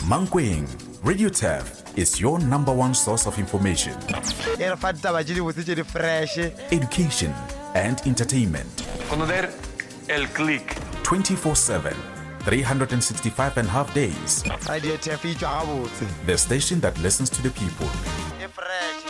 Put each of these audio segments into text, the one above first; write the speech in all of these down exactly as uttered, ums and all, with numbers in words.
Mankweng, Radio Turf is your number one source of information, E re fa ditaba tše dibotse tše di fresh. education, and entertainment. Conocer el click. twenty-four seven, three hundred sixty-five and a half days. Radio Turf e tšwa gabotse. The station that listens to the people. E fresh.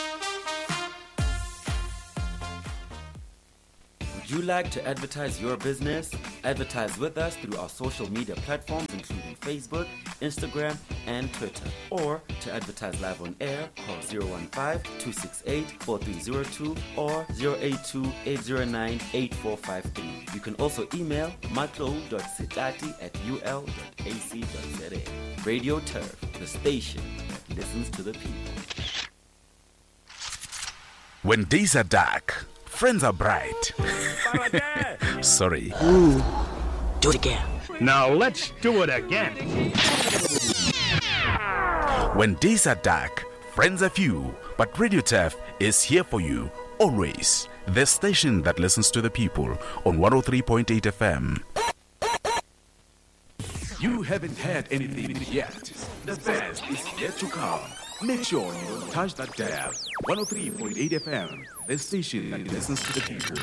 Would you like to advertise your business? Advertise with us through our social media platforms, including Facebook, Instagram, and Twitter. Or to advertise live on air, call zero one five, two six eight, four three zero two or zero eight two, eight zero nine, eight four five three. You can also email matlo dot setati at u l dot a c dot z a. Radio Turf, the station that listens to the people. When days are dark, friends are bright. Sorry. Ooh. Do it again. Now let's do it again. When days are dark, friends are few, but Radio Turf is here for you always. The station that listens to the people on one oh three point eight F M. You haven't heard anything yet. The best is yet to come. Make sure you don't touch that dial. one oh three point eight F M, the station that listens to the people.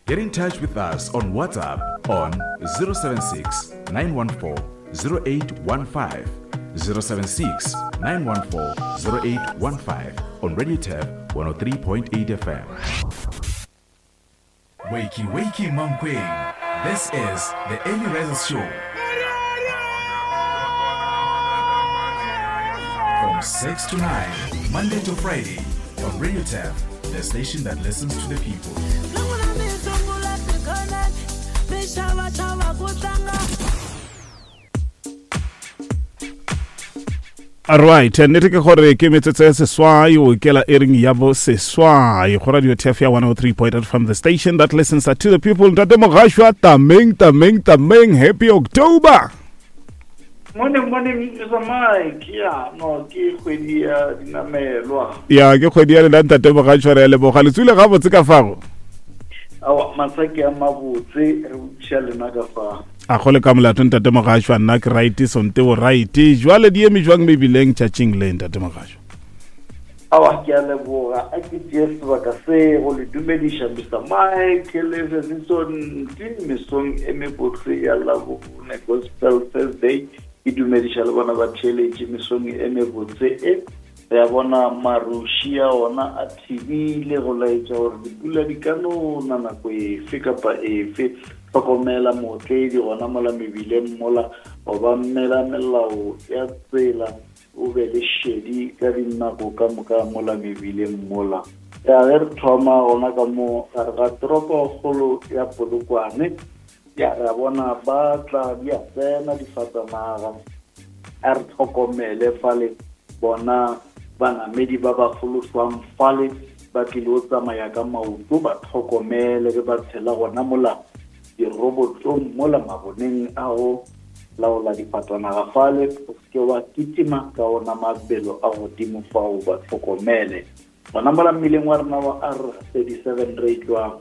Get in touch with us on WhatsApp on zero seven six, nine one four, zero eight one five, zero seven six, nine one four, zero eight one five on Radio Turf one oh three point eight F M. Wakey, wakey, Mankweng. This is the Early Risers Show. From six to nine, Monday to Friday, on Radio Turf, the station that listens to the people. All right, nnete ke gore ke metsotso ya seswai o kela ering ya bo seswai go Radio Turf ya one oh three point eight from the station that listens to the people. Ntate Mogashwa, tameng, tameng, tameng, happy October. Morning, morning, Mister Mike. Yeah, no, ke kgwedi ya dinamelwa. Ya, ke kgwedi ya lena ntate Mogashwa, re a leboga. Le tswile gabotse ka fago? Aowa, masaki a mabotse, re botšiša lena ka fa. A go le ka molato ntate Mogashwa, nna ke right, sonte o right. Jwale di eme jwang mebileng tšatšing le ntate Mogashwa? Aowa, ke a leboga. A ke tšee sebaka se go le dumediša Mister Mike le Sesonti mesong e mebotse ya Labone Gospel Thursday. Ke dumediša le bona ba theeletše mesong e mebotse e. Re a bona maruši a ona a thibile go laetša gore dipula di ka no na nako efe kapa efe. Hlokomela mootledi gona mola mebileng mola, obamela melao ya tsela, o be le šedi ka dinako ka moka mola mebileng mola. Ya ge re thoma gona ka mo gare ga toropokgolo ya Polokwane, ya re a bona ba tla di a tsena difatanaga. A re tlhokomele fale bona banamedi ba ba foloswang fale ba tlile go tsamaya ka maoto, ba tlhokomele ge ba tshela gona mola dirobotong mola maboneng a go laola difatanaga fale, o seke wa kitima ka ona mabelo a godimo fao, ba tlhokomele. Gona mola mmileng wa rena wa R thirty-seven re tšwa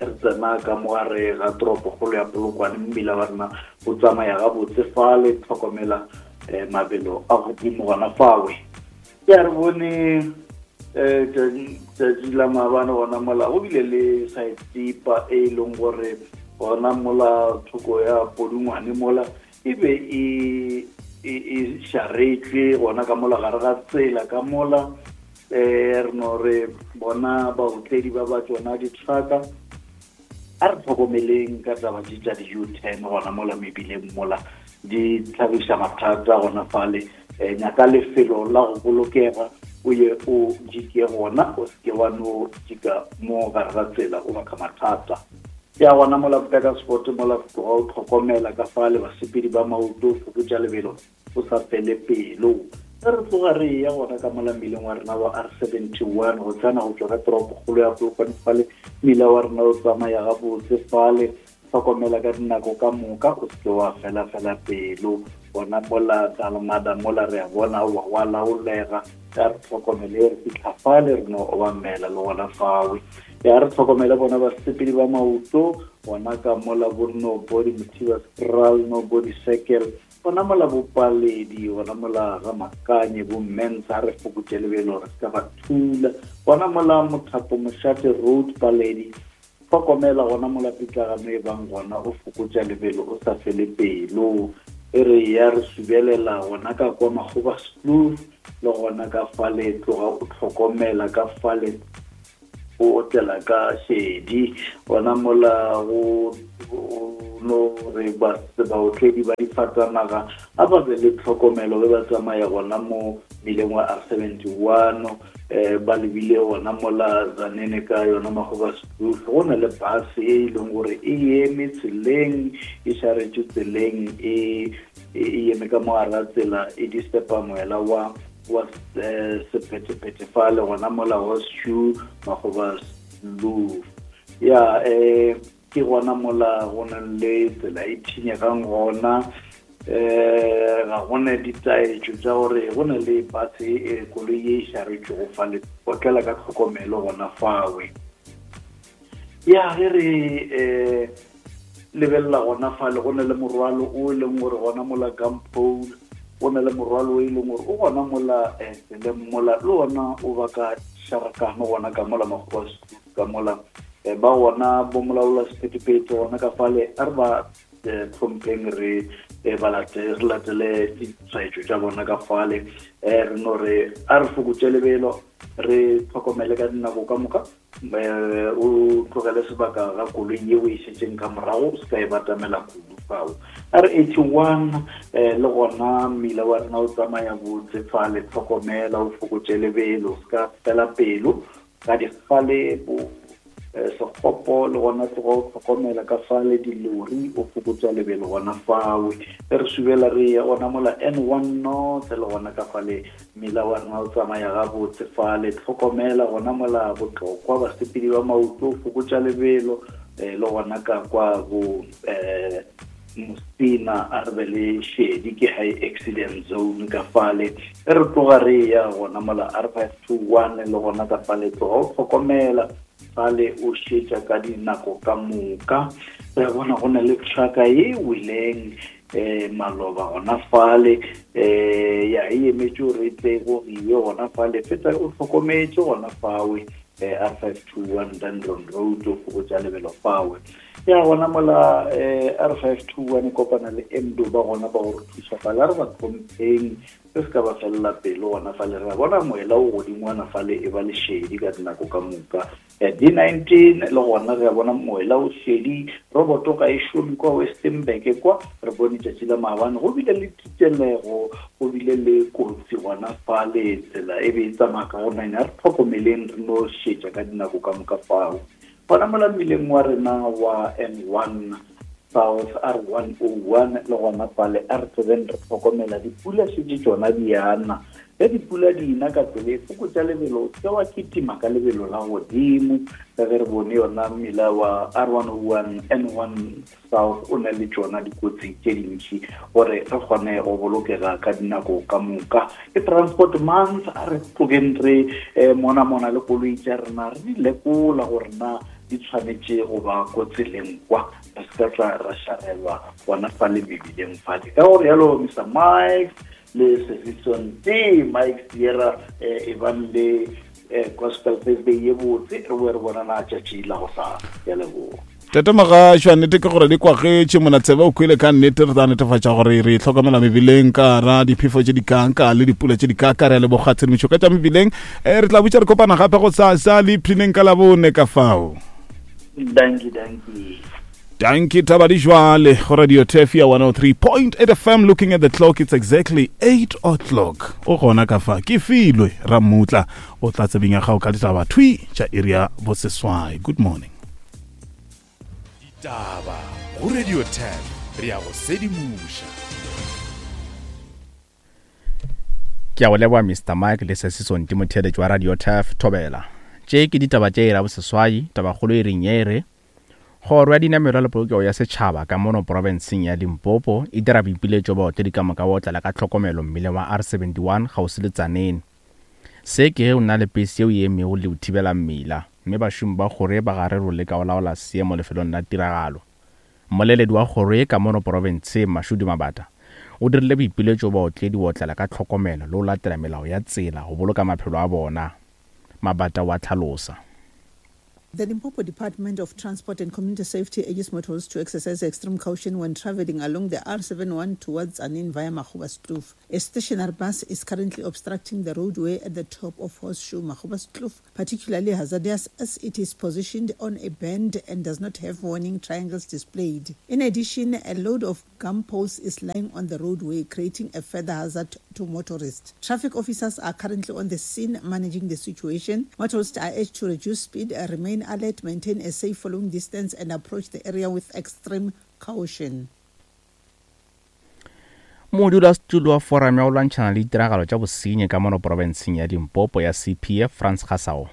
re tsena ka mo gare ga toropokgolo ya Polokwane, mmila wa rena o tsamaya gabotse fale, tlhokomela eh, mabelo a godimo gona fawe. Ke a re bone eh, tšatši la maabane gona mola go bile le saetipa e leng gore gona mola thoko ya Podungwane mola e be e, e, e šaretšwe gona ka mola gare ga tsela ka mola. Eh, re no re bona baotledi ba ba tšona di-trucka. A re tlhokomeleng ka taba tše tša di-U-turn gona mola mebileng mola, di tlhagiša mathata gona fale. Eh, nyaka lefelo la go bolokega o ye o jike gona, o seke wa no jika mo gare ga tsela o baka mathata. Ya gona mola Burgersfort mola tloga o tlhokomela ka fale basepedi ba maoto, fokotša lebelo o sa fele pelo. Ge re tloga re ya gona ka mola mmileng wa rena wa R seventy-one go tsena go tšwa ka toropokgolo ya Polokwane fale, mmila wa rena o tsamaya gabotse fale, tlhokomela ka dinako ka moka, o seke wa fela fela pelo. Gona mola Dalmada mola re a bona wa wa laolega, ya re tlhokomele re fitlha fale re no obamela le gona fawe. Ya re tlhokomele bona basepedi ba maoto, Gona ka mola bo Nobody Mothiba Skral, Nobody Circle, gona mola bo Paledi, gona mola ga Makanye, bo Mensa, re fokotše lebelo re se ka ba thula. Gona mola Mothapo Mošate Road Paledi, hlokomela gona mola pitlagano e bang gona, o fokotša lebelo o sa fele pelo. E re ya re subelela gona ka kwa Makgoba Kloof, le gona ka fale tloga o hlokomela ka fale o otlela ka šedi. Gona mola go no re baotledi ba difatanaga a ba be le tlhokomelo ge ba tsamaya gona mo mmileng wa R seventy-one, eh ba lebile gona mola Zanene ka yona Makgoba Kloof. Go na le bus e leng gore e eme tseleng, e šaretše tseleng, e e eme ka mo hara tsela, e disturba moela wa wa sephethephethe fale gona mola Horseshoe Makgoba Kloof. Ya eh ke gona mola go na le tsela e thinyegang gona, eh ga gona ditaetšo tša gore go na le bus e koloi e šaretšego fale, otlela ka tlhokomelo gona fawe. Ya ge re eh lebelela gona fale go na le morwalo o e leng gore gona mola Gampole, go na le morwalo o e leng gore o gona mola tseleng mola, le ona o baka šarakano gona ka mola Makgoba Kloof ka mola. Ba gona bo molaola sephethephethe gona ka fale, a re ba tlhompheng re ba re latele ditshwaetšo tša bona ka fale. Re no re a re fokotše lebelo, re tlhokomele ka dinako ka moka, o tlogele sebaka ga koloi yeo e šetšeng ka morago, o se ka e batamela kudu fao. R eighty-one le gona mmila wa rena o tsamaya botse fale, tlhokomela o fokotše lebelo, o se ka fela pelo ka dikgale bo sekgopo, le gona tloga o tlhokomela ka fale dilori, o fokotša lebelo gona fawe. Re subela re ya gona mola N one North, le gona ka fale mmila wa rena o tsamaya gabotse fale, tlhokomela gona mola Botlokwa, basepedi ba maoto o fokotša lebelo, le gona ka kwa bo Mosina a re be le šedi, ke high accident zone ka fale. Re tloga re ya gona mola R five two one, le gona ka fale tloga o tlhokomela fale, o šetša ka dinako ka moka. Re bona go na le trucka ye weleng eh maloba gona fale, eh ya e emetše gore e tle go giwe gona fale, feta o hlokometše gona fawe R five two one Dundon Road, o fokotša lebelo fawe. Ya gona mola R five two one e kopana le Mdo ba gona ba go re thuša fale, a re ba tlhompheng, re se ka ba felela pelo gona fale. Re bona moela o godingwana fale e ba le šedi ka dinako ka moka. D nineteen le gona re bona moela o šedi, roboto ga e šome kwa Westernburg kwa, re bone tšatši la maabane go bile le titelego, go bile le kotsi gona fale, tsela e be e tsamaya ka go nanya. Re tlhokomeleng, re no šetša ka dinako ka moka fao. Gona mola mmileng wa rena wa N one South R one oh one, le gona fale a re tsebeng re tlhokomela dipula šetše tšona di ana. Ge dipula di ina ka tsela e fokotša lebelo, o se wa kitima ka lebelo la godimo, ka ge re bone yona mmila wa R one oh one N one South o na le tšona dikotsi tše dintši, gore re kgone go bolokega ka dinako ka moka. Ke Transport Month, a re tlogeng re mona mona le koloi tša rena, re di lekola gore na di tshwanetše go ba ko tseleng kwa, re se ka tla ra šarelwa gona fale mebileng fale. Ka gore yalo Mister Mike le Sesison T, Mike Sierra, e bang le Gospel Thursday ye botse, re boe re bonana tšatši la go sa ya leboga. Tata Magašwa, nnete ke gore di kwagetše monatsebe o kwele ka nnete. Re tla netefatša gore re hlokomela mebileng ka ra diphefo tše di kanka le dipula tše di kaka. Re a leboga tshedimošo ka tša mebileng. Re tla botša re kopana gape go sasa le iphineng ka labone ka fao. Dankie, dankie. Dankie Tabadi Jwale, go Radio Tefia one oh three point eight F M. Looking at the clock, it's exactly eight o'clock. O gona ka fa, ke filwe Ramutla, o tla tsebeng ya gago ka ditaba thwi tša iri ya boseswai. Good morning. Ditaba go Radio Tef, re ya go sedimoša. Ke a go leboga Mister Mike le Sesison Timotheletši wa Radio Tef Thobela. Tše ke ditaba tše ira boseswai, tabakgolo e reng ye re Kgoro ya dinamelwa le polokego ya setšhaba ka mono profenseng ya Limpopo e dira boipiletšo baotledi ka moka ba otlela ka tlhokomelo mmileng wa R seventy-one kgauswi le Tzaneen. Se ke ge o na le pese yeo e emego le go thibela mmila, mme bašomi ba kgoro ye ba gare go leka go laola seemo lefelong la tiragalo. Mmoleledi wa kgoro ye ka mono profenseng, Mashudu Mabata, o dirile boipiletšo go baotledi go otlela ka tlhokomelo le go latela melao ya tsela go boloka maphelo a bona. Mabata o a hlalosa. The Limpopo Department of Transport and Community Safety urges motorists to exercise extreme caution when traveling along the R seventy-one towards Tzaneen via Magoebaskloof. A stationary bus is currently obstructing the roadway at the top of Horseshoe Magoebaskloof, particularly hazardous as it is positioned on a bend and does not have warning triangles displayed. In addition, a load of gum poles is lying on the roadway, creating a further hazard to motorists. Traffic officers are currently on the scene managing the situation. Motorists are urged to reduce speed, remain alert, maintain a safe following distance, and approach the area with extreme caution. Modulasetulo wa Forum ya go lwantšhana le ditiragalo tša bosenyi ka mono profenseng ya Limpopo ya C P F, Frans Gasao,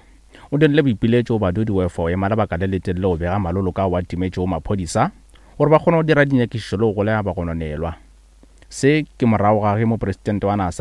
o dirile boipiletšo go badudi go efa go ema lebaka le letelele go bega maloloka ao a timetšego maphodisa gore ba kgone go dira dinyakišišo le go golega bagononelwa. Se ke morago ga ge mopresidente wa naga